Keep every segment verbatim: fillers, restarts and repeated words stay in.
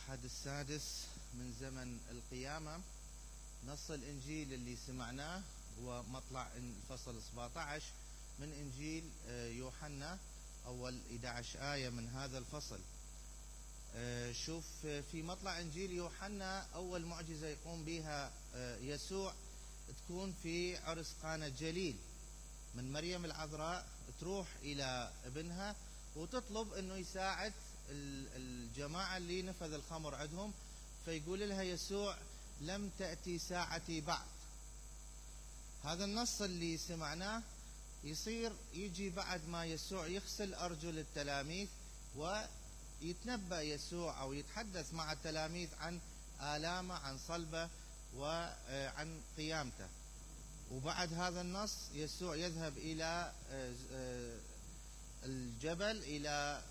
الأحد السادس من زمن القيامة. نص الإنجيل اللي سمعناه هو مطلع الفصل سبعة عشر من إنجيل يوحنا، أول إحدى عشرة آية من هذا الفصل. شوف في مطلع إنجيل يوحنا أول معجزة يقوم بها يسوع تكون في عرس قانا الجليل، من مريم العذراء تروح إلى ابنها وتطلب أنه يساعد الجماعة اللي نفذ الخمر عندهم، فيقول لها يسوع لم تأتي ساعتي بعد. هذا النص اللي سمعناه يصير يجي بعد ما يسوع يغسل أرجل التلاميذ ويتنبأ يسوع أو يتحدث مع التلاميذ عن آلامه، عن صلبه وعن قيامته. وبعد هذا النص يسوع يذهب إلى الجبل إلى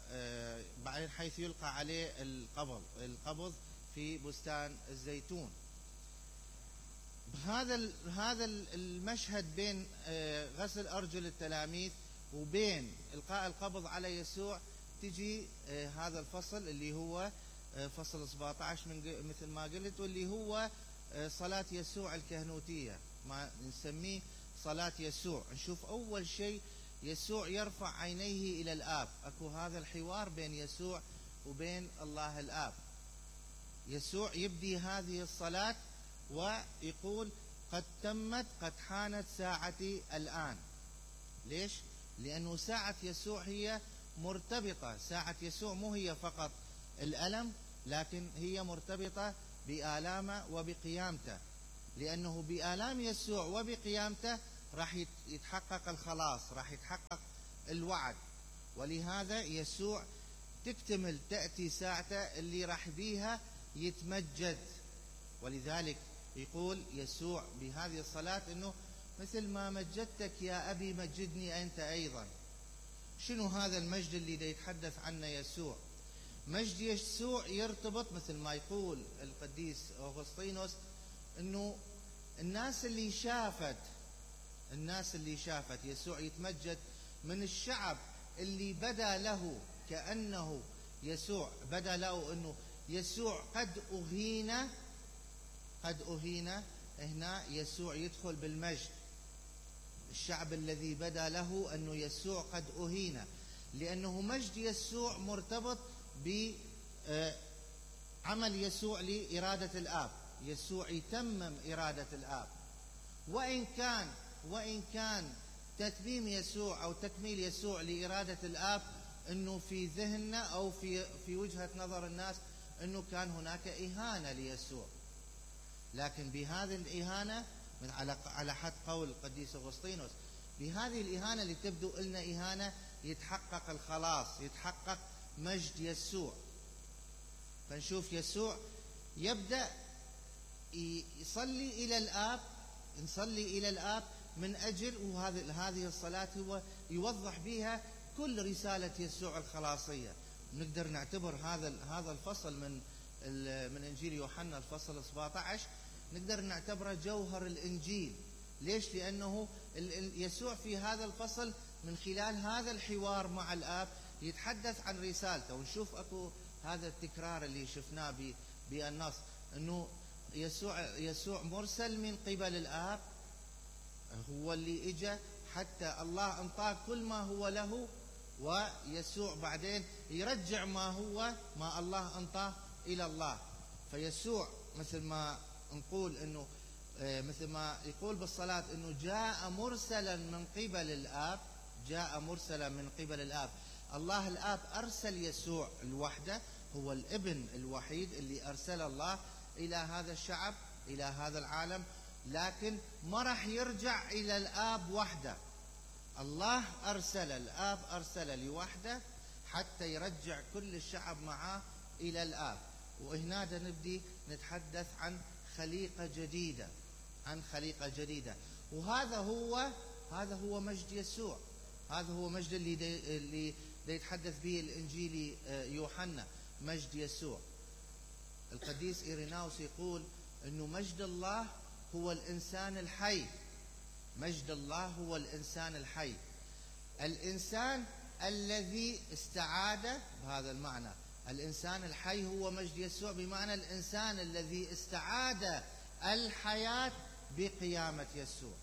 بعدين حيث يلقى عليه القبض القبض في بستان الزيتون. هذا هذا المشهد بين غسل أرجل التلاميذ وبين إلقاء القبض على يسوع تجي هذا الفصل اللي هو فصل سبعة عشر من مثل ما قلت، واللي هو صلاة يسوع الكهنوتية، ما نسميه صلاة يسوع. نشوف أول شيء يسوع يرفع عينيه إلى الآب، أكو هذا الحوار بين يسوع وبين الله الآب. يسوع يبدي هذه الصلاة ويقول قد تمت، قد حانت ساعتي الآن. ليش؟ لأنه ساعة يسوع هي مرتبطة، ساعة يسوع مو هي فقط الألم، لكن هي مرتبطة بآلامه وبقيامته، لأنه بآلام يسوع وبقيامته راح يتحقق الخلاص، راح يتحقق الوعد. ولهذا يسوع تكتمل تأتي ساعته اللي راح بيها يتمجد. ولذلك يقول يسوع بهذه الصلاة انه مثل ما مجدتك يا أبي مجدني أنت أيضا. شنو هذا المجد اللي يتحدث عنه يسوع؟ مجد يسوع يرتبط مثل ما يقول القديس أغسطينوس انه الناس اللي شافت الناس اللي شافت يسوع يتمجد من الشعب اللي بدا له كأنه يسوع بدا له انه يسوع قد أهين قد أهين هنا يسوع يدخل بالمجد. الشعب الذي بدا له أنه يسوع قد أهين، لأنه مجد يسوع مرتبط بعمل يسوع لإرادة الآب. يسوع يتمم إرادة الآب، وإن كان وإن كان تتميم يسوع أو تكميل يسوع لإرادة الآب أنه في ذهننا أو في في وجهة نظر الناس أنه كان هناك إهانة ليسوع، لكن بهذه الإهانة من على على حد قول القديس أغسطينوس، بهذه الإهانة اللي تبدو لنا إهانة يتحقق الخلاص، يتحقق مجد يسوع. فنشوف يسوع يبدأ يصلي إلى الآب، نصلي إلى الآب من أجل، وهذه هذه الصلاة هو يوضح بها كل رسالة يسوع الخلاصية. نقدر نعتبر هذا هذا الفصل من من إنجيل يوحنا الفصل سبعة عشر نقدر نعتبره جوهر الإنجيل. ليش؟ لأنه يسوع في هذا الفصل من خلال هذا الحوار مع الآب يتحدث عن رسالته. ونشوف أكو هذا التكرار اللي شفناه بالنص أنه يسوع يسوع مرسل من قبل الآب، هو اللي إجا حتى الله انطاه كل ما هو له، ويسوع بعدين يرجع ما هو ما الله انطاه إلى الله. فيسوع مثل ما نقول أنه مثل ما يقول بالصلاة أنه جاء مرسلا من قبل الآب، جاء مرسلا من قبل الآب. الله الآب أرسل يسوع الوحده، هو الابن الوحيد اللي أرسل الله إلى هذا الشعب، إلى هذا العالم، لكن ما راح يرجع إلى الآب وحده. الله أرسل، الآب أرسل لوحده حتى يرجع كل الشعب معه إلى الآب. وهنا نبدي نتحدث عن خليقة جديدة، عن خليقة جديدة. وهذا هو هذا هو مجد يسوع، هذا هو مجد اللي دي اللي دي يتحدث به الإنجيلي يوحنا، مجد يسوع. القديس إيريناوس يقول أنه مجد الله هو الإنسان الحي، مجد الله هو الإنسان الحي، الإنسان الذي استعاد بهذا المعنى الإنسان الحي هو مجد يسوع، بمعنى الإنسان الذي استعاد الحياة بقيامة يسوع.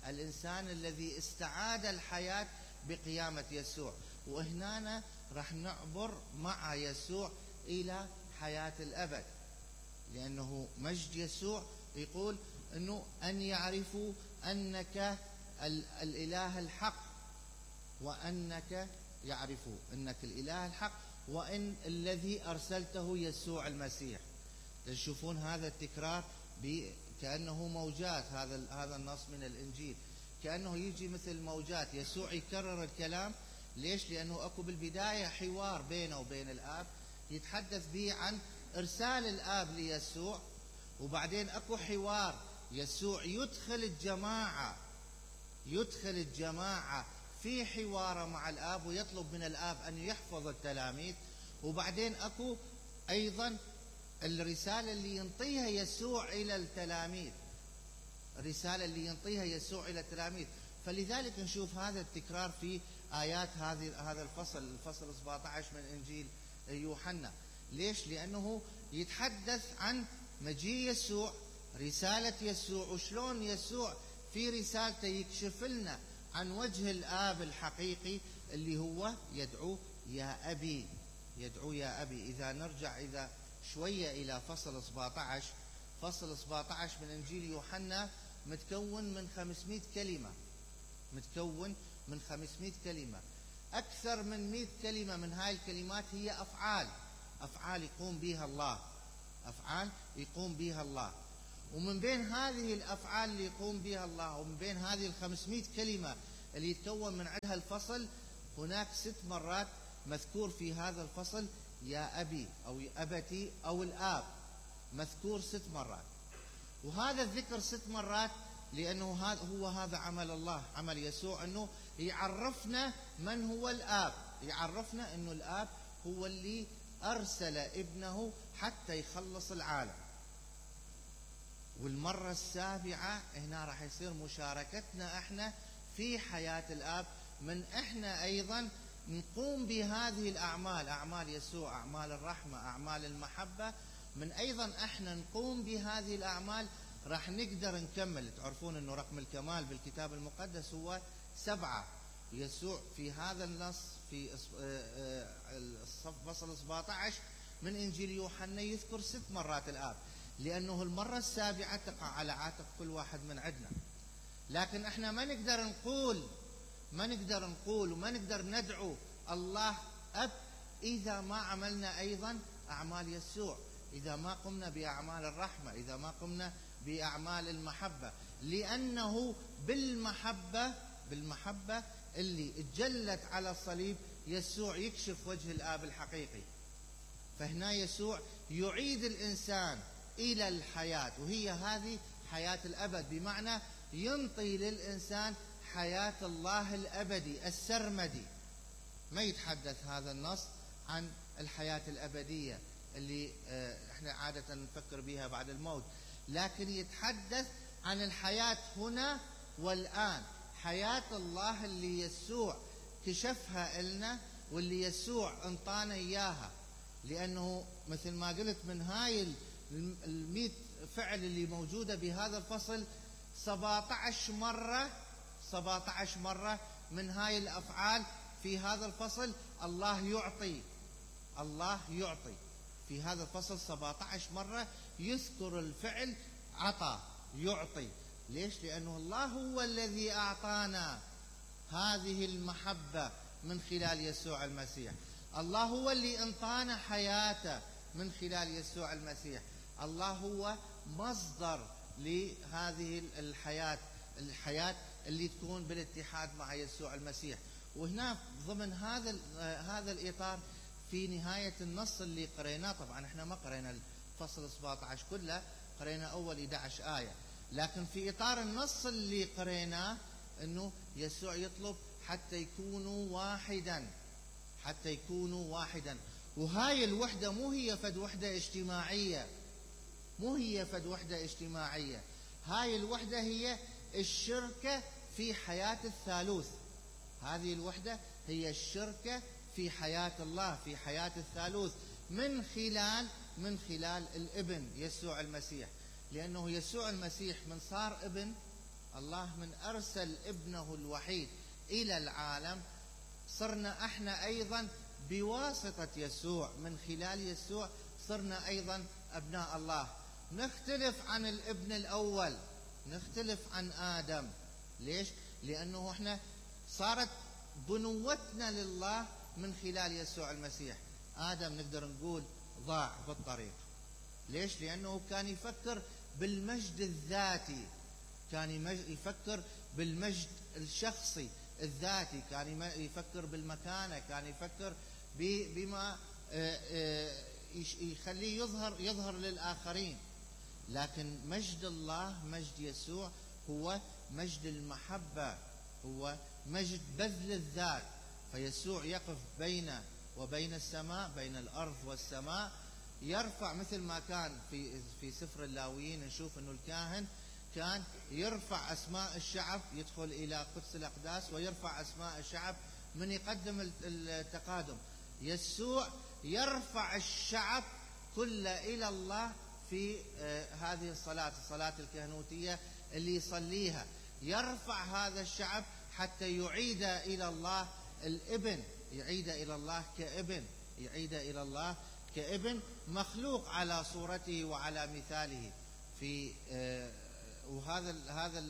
الإنسان الذي استعاد الحياة بقيامة يسوع. وهنا راح نعبر مع يسوع إلى حياة الأبد، لأنه مجد يسوع يقول أنه أن يعرفوا أنك الإله الحق، وأنك يعرفوا أنك الإله الحق وأن الذي أرسلته يسوع المسيح. تشوفون هذا التكرار كأنه موجات، هذا هذا النص من الإنجيل كأنه يجي مثل موجات. يسوع يكرر الكلام. ليش؟ لأنه أكو بالبداية حوار بينه وبين الآب يتحدث به عن إرسال الآب ليسوع، وبعدين أكو حوار يسوع يدخل الجماعة يدخل الجماعة في حواره مع الآب ويطلب من الآب أن يحفظ التلاميذ، وبعدين أكو أيضا الرسالة اللي ينطيها يسوع إلى التلاميذ، الرسالة اللي ينطيها يسوع إلى التلاميذ. فلذلك نشوف هذا التكرار في آيات هذه هذا الفصل الفصل سبعة عشر من إنجيل يوحنا. ليش؟ لأنه يتحدث عن مجيء يسوع، رسالة يسوع، وشلون يسوع في رسالته يكشف لنا عن وجه الآب الحقيقي اللي هو يدعو يا أبي، يدعو يا أبي. إذا نرجع إذا شوية إلى فصل سبعة عشر، فصل سبعة عشر من إنجيل يوحنا متكون من خمسمائة كلمة، متكون من خمسمائة كلمة. أكثر من مئة كلمة من هاي الكلمات هي أفعال، أفعال يقوم بها الله، أفعال يقوم بها الله. ومن بين هذه الأفعال اللي يقوم بها الله، ومن بين هذه الخمسمائة كلمة اللي يتكون من عندها الفصل، هناك ست مرات مذكور في هذا الفصل يا أبي أو يا أبتي أو الآب، مذكور ست مرات. وهذا الذكر ست مرات لأنه هذا هو هذا عمل الله، عمل يسوع، أنه يعرفنا من هو الآب، يعرفنا أنه الآب هو اللي أرسل ابنه حتى يخلص العالم. والمرة السابعة هنا راح يصير مشاركتنا احنا في حياة الآب، من احنا أيضا نقوم بهذه الأعمال، أعمال يسوع، أعمال الرحمة، أعمال المحبة. من أيضا احنا نقوم بهذه الأعمال راح نقدر نكمل. تعرفون أنه رقم الكمال بالكتاب المقدس هو سبعة. يسوع في هذا النص في فصل سبعة عشر من إنجيل يوحنا يذكر ست مرات الآب، لأنه المرة السابعة تقع على عاتق كل واحد من عندنا. لكن احنا ما نقدر نقول ما نقدر نقول وما نقدر ندعو الله أب إذا ما عملنا أيضا أعمال يسوع، إذا ما قمنا بأعمال الرحمة، إذا ما قمنا بأعمال المحبة. لأنه بالمحبة بالمحبة اللي اتجلت على الصليب يسوع يكشف وجه الآب الحقيقي. فهنا يسوع يعيد الإنسان إلى الحياة، وهي هذه حياة الأبد، بمعنى ينطي للإنسان حياة الله الأبدي السرمدي. ما يتحدث هذا النص عن الحياة الأبدية اللي احنا عادة نفكر بها بعد الموت، لكن يتحدث عن الحياة هنا والآن، حياة الله اللي يسوع كشفها لنا واللي يسوع انطانا إياها. لأنه مثل ما قلت من هاي المئة فعل اللي موجودة بهذا الفصل، سبعة عشر مرة سبعة عشر مرة من هاي الأفعال في هذا الفصل الله يعطي، الله يعطي. في هذا الفصل سبعة عشر مرة يذكر الفعل عطى، يعطي. ليش؟ لأنه الله هو الذي أعطانا هذه المحبة من خلال يسوع المسيح. الله هو اللي انطانا حياته من خلال يسوع المسيح. الله هو مصدر لهذه الحياة، الحياة اللي تكون بالاتحاد مع يسوع المسيح. وهنا ضمن هذا هذا الإطار في نهاية النص اللي قريناه، طبعا احنا ما قرينا الفصل سبعة عشر كله، قرينا أول أحد عشر آية، لكن في إطار النص اللي قريناه أنه يسوع يطلب حتى يكونوا واحدا، حتى يكونوا واحدا. وهاي الوحدة مو هي فد وحدة اجتماعية، مو هي فد وحدة اجتماعية، هاي الوحدة هي الشركة في حياة الثالوث. هذه الوحدة هي الشركة في حياة الله، في حياة الثالوث، من خلال من خلال الابن يسوع المسيح. لأنه يسوع المسيح من صار ابن الله، من أرسل ابنه الوحيد إلى العالم، صرنا احنا أيضا بواسطة يسوع، من خلال يسوع صرنا أيضا أبناء الله. نختلف عن الابن الأول، نختلف عن آدم. ليش؟ لأنه احنا صارت بنوتنا لله من خلال يسوع المسيح. آدم نقدر نقول ضاع بالطريق. ليش؟ لأنه كان يفكر بالمجد الذاتي، كان يفكر بالمجد الشخصي الذاتي، كان يفكر بالمكانة، كان يفكر بما يخليه يظهر يظهر للآخرين. لكن مجد الله، مجد يسوع، هو مجد المحبة، هو مجد بذل الذات. فيسوع يقف بين وبين السماء، بين الأرض والسماء، يرفع مثل ما كان في في سفر اللاويين نشوف انه الكاهن كان يرفع اسماء الشعب، يدخل الى قدس الاقداس ويرفع اسماء الشعب من يقدم التقادم. يسوع يرفع الشعب كله الى الله في هذه الصلاة، الصلاة الكهنوتية اللي يصليها، يرفع هذا الشعب حتى يعيد الى الله الابن، يعيد الى الله كابن، يعيد الى الله كابن مخلوق على صورته وعلى مثاله. في آه وهذا هذا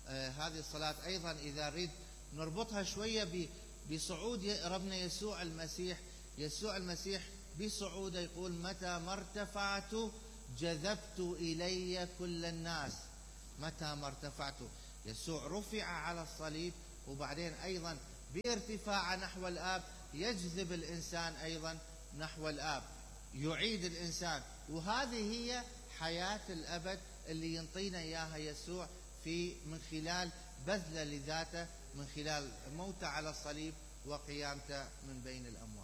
آه هذه الصلاة أيضا إذا نريد نربطها شوية بصعود ربنا يسوع المسيح. يسوع المسيح بصعوده يقول: متى ما ارتفعت جذبت إلي كل الناس. متى ما ارتفعت، يسوع رفع على الصليب، وبعدين أيضا بارتفاع نحو الآب يجذب الإنسان أيضا نحو الآب، يعيد الإنسان. وهذه هي حياة الأبد اللي ينطينا إياها يسوع في من خلال بذله لذاته، من خلال موته على الصليب وقيامته من بين الأموات.